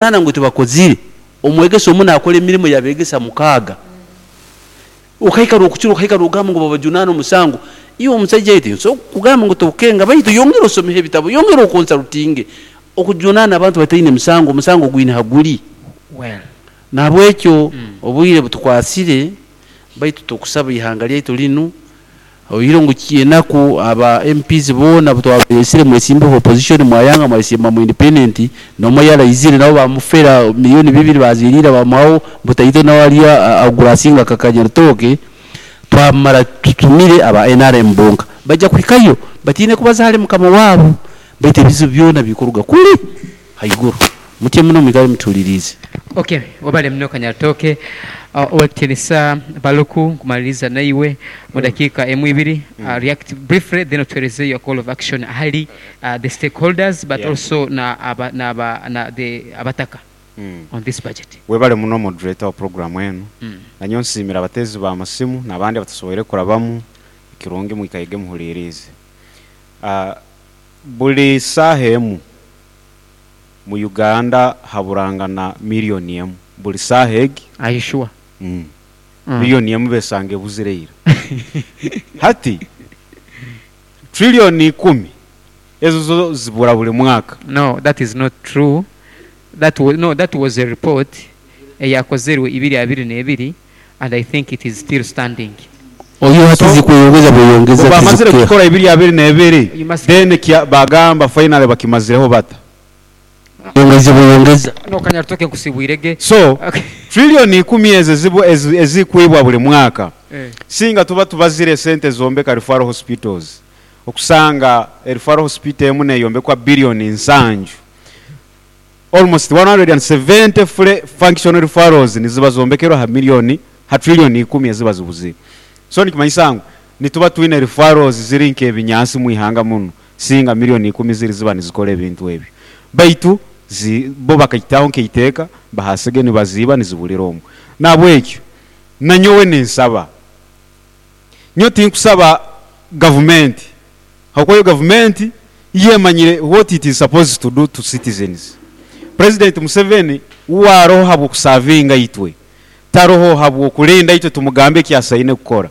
Nana ngu tibakozire, omwegesa omu naakora emirimo y'abeegesa mukaaga. Okaikara okukira okaika noogamba ngu babajunaane omusango. Iwe omusaija itwe nsobola kukugamba ngu tokukenga baitu yongera osomeho ebitabo, yongera okonsarutinge. Okujunaana abantu bataine musango, omusango gwine ha guri. Well. Nahabwekyo obwire butukwasire baitu tukusaba ihanga lyaitu linu Oihireho ngu enaku aba MPs boona abu twabeesire mwesimbeho opposition mwayanga mwayesimba mu independent n'omwe yaraizire nabo bamufera million bibiri baziriira bamuhaho butaito nawe ariyo agurasinga nka kanyarutooke twamara tutumire aba nrm bonka baija kuhikayo batiine kubaza ahari mukama waabo baitu ebizibu byona bikuruga kuri haiguru. Mutyo muno mwikare mutuhuririize. Ok webale muno Kanyarutooke. Owekitiinisa Baluku nkumaliriza naiwe mu dakiika emu ibiri react briefly then otuhereze your call of action ahari the stakeholders but also na na the abataka on this budget. Webale muno moderator wa program enu. Nanyowe nsiimire abateezi ba masimu nabandi abatasoboire kurabamu, kirungi mwikaige muhuliriize. Buri saaha emu Mu Uganda haburangana million emu buri saaha egi. Are you sure? Million emu besanga ebuzire ira. Hati trillion ikumi ezo zo zibura buri mwaka. No that is not true that no that was a report eyakozerwe ibiri abiri nebiri and I think it is still standing. Oyo hati So zikweyongeza bweyongeza bamazire tizikukeha. kukikora ibiri abiri nebiri You must then bagamba finally bakimazireho bata? Yongeize bweyongeza. No Kanyarutooke nkusibwire ge. So trillion ikumi ezo ezikwibwa buri mwaka singa tuba tubazire esente ezombeka referral hospitals okusanga referral hospital emu neyombekwa billion nsanju Almost 170 fully functional referrals niziba zombekerwe aha million ha trillion ikumi eziba zibuzire. So nikimanyisa ngu nituba twine referrals ziri nk'ebinyansi omu ihanga munu singa million ikumi ziri ziba nizikora ebintu ebyo. Baitu zi bo bakagitaho nk'eiteeka bahasige nibaziiba niziburira omwo. Nahabwekyo nanyowe ninsaba, nyowe tinkusaba gavumenti Ahabw'okuba yo gavumenti yo emanyire what it is supposed to do to citizens. President Museveni uwe aroho habw'okusavinga itwe, taroho habw'okulinda itwe tumugambe eki asaine kukora.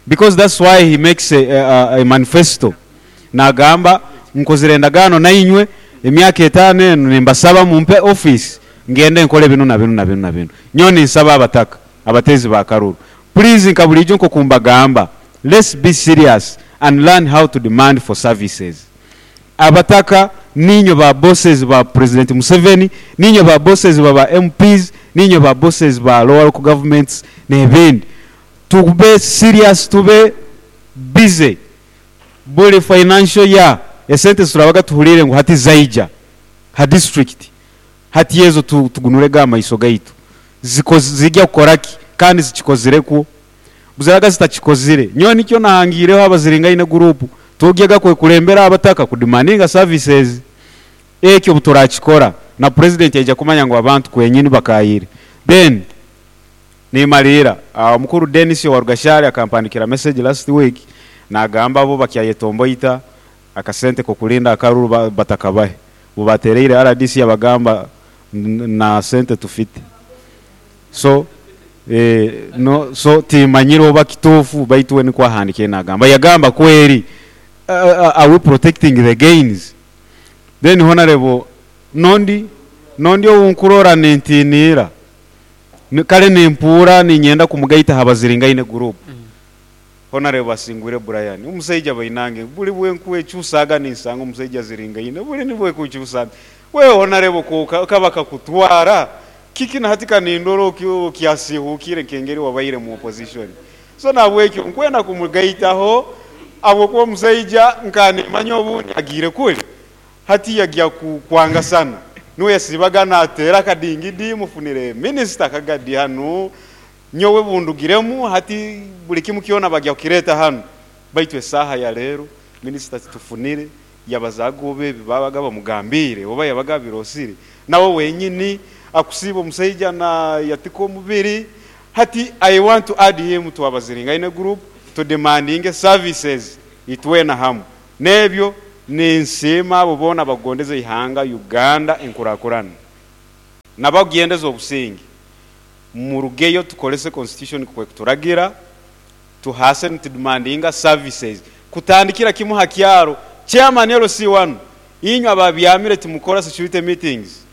Because that's why he makes a, a manifesto nagamba nkozire endagaano nainywe emyaka etaano enu nimbasaba mumpe office ngende nkole binu na binu na binu na binu. Nyowe ninsaba abataka, abateezi ba karuru, please nka buriijo nkoku mbagamba, Let's be serious and learn how to demand for services. Abataka niinywe ba bosses ba President Museveni, niinywe ba bosses ba ba MPs, niinywe ba bosses ba lower local governments n'ebindi. Tube serious tube busy buri financial year esente ziturabaga tuhuriire ngu hati zaija ha district hati ezo tugunurege amaiso gaitu zija kukora ki kandi zikikozireku? Buziraga zitakikozire. Nyowe nikyo nahangiireho abaziringaine guruupu tugyega kwekurembera abataka ku demandinga services. Ekyo obuturakikora na Purezidenti aija kumanya ngu abantu kwenyini bakaayire. Then nimariira, omukuru Denis owa Rugashari akampandikira message last week nagamba bo bakyayetomboita akasente k'okurinda akaruru batakabahe. Obubatereire rdc yabagamba na sente tufite. So no so timanyire oba kituufu baitu we nikwo ahandikire nagamba. Yagamba kweri are we protecting the gains? Then Honarebo nondi nondi ou nkurora nintiniira kare nimpuura ninyenda kumugaita aha Baziringaine group. Honarebo asingwire Brian. Omusaija bainange buri bwenkwecusaaga ninsanga omusaija aziringaine buri nibwekucusa nti we Honarebo ku kaba kakutwara Kiki na hati ka nindora okyasiihuukire nk'engeri wabaire mu opposition. So nahabwekyo nkwenda kumugaitaho habwokuba omusaija nka nimanya obundi agiire kuri hati yagya kwangasana. Nuwe yasiibaga nateera akadingidi mufunire minisita akagadi hanu nyowe bundugiremu hati buri kimu kyona bagya kukireeta hanu. Baitu esaaha ya leero minisita titufunire Yabazaaga oba ebi baabaga bamugambiire oba yabaga abiroosire nawe wenyini akusiiba omusaija na yatika omubiri hati I want to add him to Abaziringaine group to demandinge services itwena hamu n'ebyo ninsiima abo boona abakugondeza eihanga Uganda enkurakurana. N'abakugyendeza obusinge, murugeyo tukorese constitution kwekuturagira, tuhaase nitudemandinga services kutandikira kimwe ha kyaro. Chairman LC wanu, inywe ababyamire timukora security meetings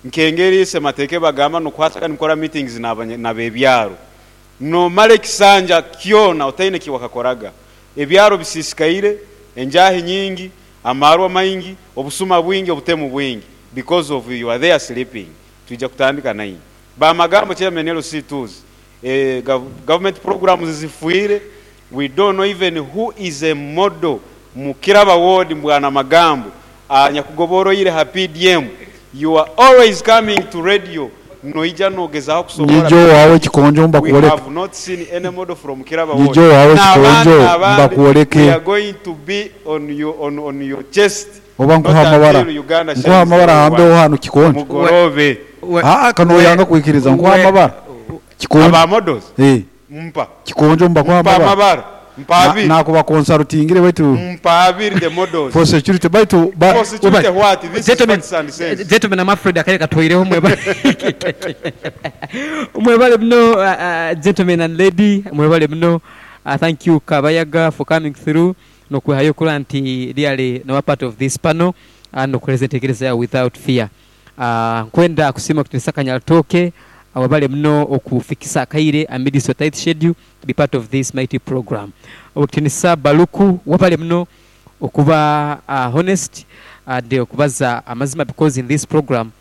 nk'engeri Ssemateeka ebagamba n'okuhasaga nimukora meetings n'abebyaro. Nomara ekisanja kyona otaine eki wakakoraga. Ebyaro bisiisikaire, enjaahi nyingi, amaarwa maingi, obusuma bwingi, obutemu bwingi because of you are there sleeping. Twija kutandika nainywe. Bamagambo Chairman LC 2's eh government programs zifwire, we don't know even who is a model mu Kiraba ward Mbwana Magambo anyakugoboroire ha PDM. You are always coming to radio noija nogezaho kusoboora Nyija owaawe PDM. ekikonjo We mbakwoleke. have not seen any model from Kiraba ward. Nyija owaawe N'abandi ekikonjo n'abandi we mbakwoleke. are going to be on your, on, on your chest Oba not nkuhe amabara. until Uganda Nkuhe shines the amabara way we ahambeho want. hanu kikonjo. Mugoroobe. Aa kanoyanga kwikiriza nkuhe amabara. Kikonjo. Aba models? Eh. Mpa. Kikonjo mbakuhe Mpa amabara. amabara. Mpa abiri. Nakuba consultingire baitu Mpa abiri the models. for security baitu ba For security what? This is Gentlemen, facts and sense. gentlemen, I'm afraid akale katwaireho mwebale. Mwebale muno gentlemen and lady, mwebale muno. Thank you Kabayaga for coming through nokwehayo okura nti really noba part of this panel nokuhereza entekereza yawe without fear. Nkwenda kusiima kutinisa Kanyarutooke webale muno okufikisa akaire amidst your tight schedule to be part of this mighty program. Ow'ekitinisa Baluku webale muno okuba honest and okubaza amazima because in this program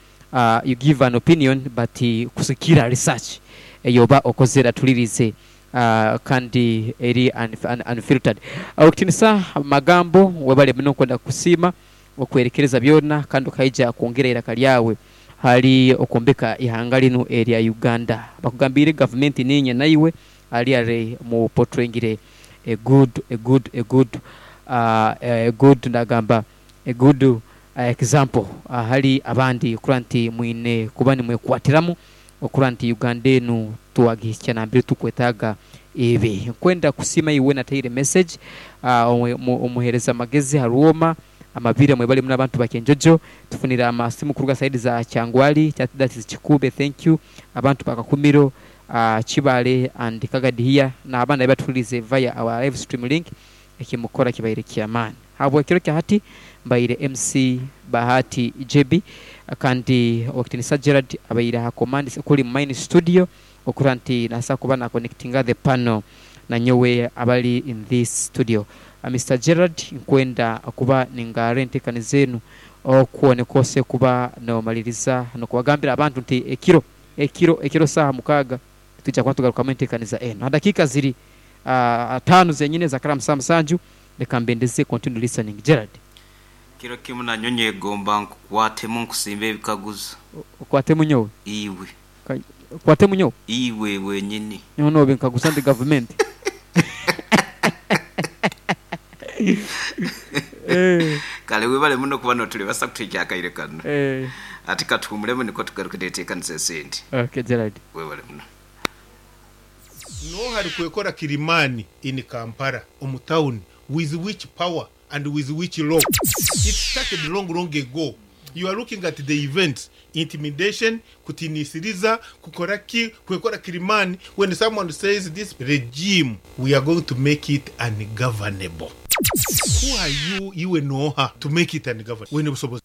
you give an opinion but kusikira research eyoba okozere atulirize kandi eri unfiltered. Ow'ekitinisa Magambo webale muno nkwenda kukusiima okwerekereza byona kandi okaija kwongera eiraka lyawe hali okwombeka eihanga linu erya Uganda. Bakugambiire gavumenti niinye naiwe ali mu portrayingire a good, a good, a good, a good nagamba a good example ahali abandi kurora nti mwine kuba nimwekwatiramu okurora nti Uganda enu twagihikya nambere tukwetaaga ebe. Nkwenda kusiima iwe nataire message omuhereza magezi ha Rwoma Amabira mwebale muno abantu ba Kyenjojo tufunire amasimu kuruga side za Kyangwali that is Kikuube thank you abantu ba Kakumiro Kibale and Kagadi here nabandi abatuhulirize via our live stream link ekimukora kibaire kyamaani. Habwekiro kyahati mbaire MC Bahati JB kandi Owekitinisa Gerald abaire aha command kuri mu main studio okurora nti nasobola kuba na connectinga the panel nanyowe abali in this studio. Mister Gerald nkwenda kuba ningarra entekaniza enu okwo nikwo ose kuba nomaliriza nokubagambira abantu nti ekiro ekiro ekiro saaha mukaaga nitwija kuba nitugarukamu entekaniza enu. Ha dakiika ziri ataano zenyini ezakara saaha musanju leka mbendeze continue listening. Gerald. Kiro kimu nanyowe nyegomba nkukwatemu nkusimbe ebikaguzo. Okwatemu nyowe? Iwe. Okwatemu nyowe? Iwe wenyini. Nyowe nobinkaguza ndi gavumenti. Kale webale muno kuba noturebasa kutuhikya akaire kanu. Hati katuhumuremu nikwo tugaruke neteekanisa esindi. Okay Gerald. Webale muno. N'oha arikwekora Kilimani in Kampala omu town with which power and with which law? It started long long ago. You are looking at the events, intimidation, kutinisiriza, kukora ki, kwekora Kilimani when someone says this regime we are going to make it ungovernable. Who are you iwe n'oha to make it ungovernable? Oine obusobozi?